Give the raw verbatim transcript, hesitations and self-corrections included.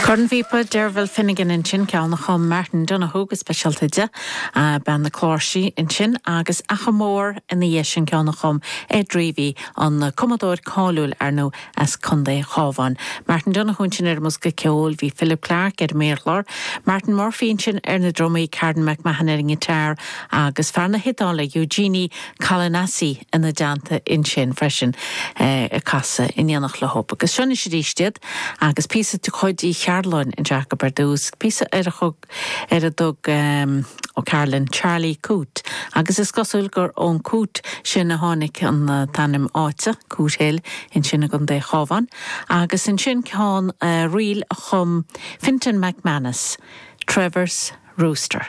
Cornphíopa Derval Finnegan ansin ceann a chum Martin Donoghue go speisialta di bean na cláirsí ansin agus Achamore ina dhiaidh sin ceann a chum Ed Reavy an cumadóir cáiliúil ar ndóigh as Contae an Chabháin. Martin Donoghue ansin ar an mbosca ceoil bhí Philip Clarke ar méarchlár, Martin Murphy ansin ar na drumaí Karen McMahon ar an ngiotár agus fear na hIodáile Eugenie Calinasi ina dteannta ansin freisin eh, ag casadh in éineacht leo. Agus seo arís iad agus píosa de chuid Uí Chearúil anseo ar dtús, píosa ar a thug ar a dtug um, O'Carolan Charlie Coote, agus is cosúil gur ón Coote sin a tháinig an uh, t-ainm áite Cootehill ansin i gContae an Chabháin, agus ansin ceann uh, ríl a chum Fintan McManus, Trevor's Rooster.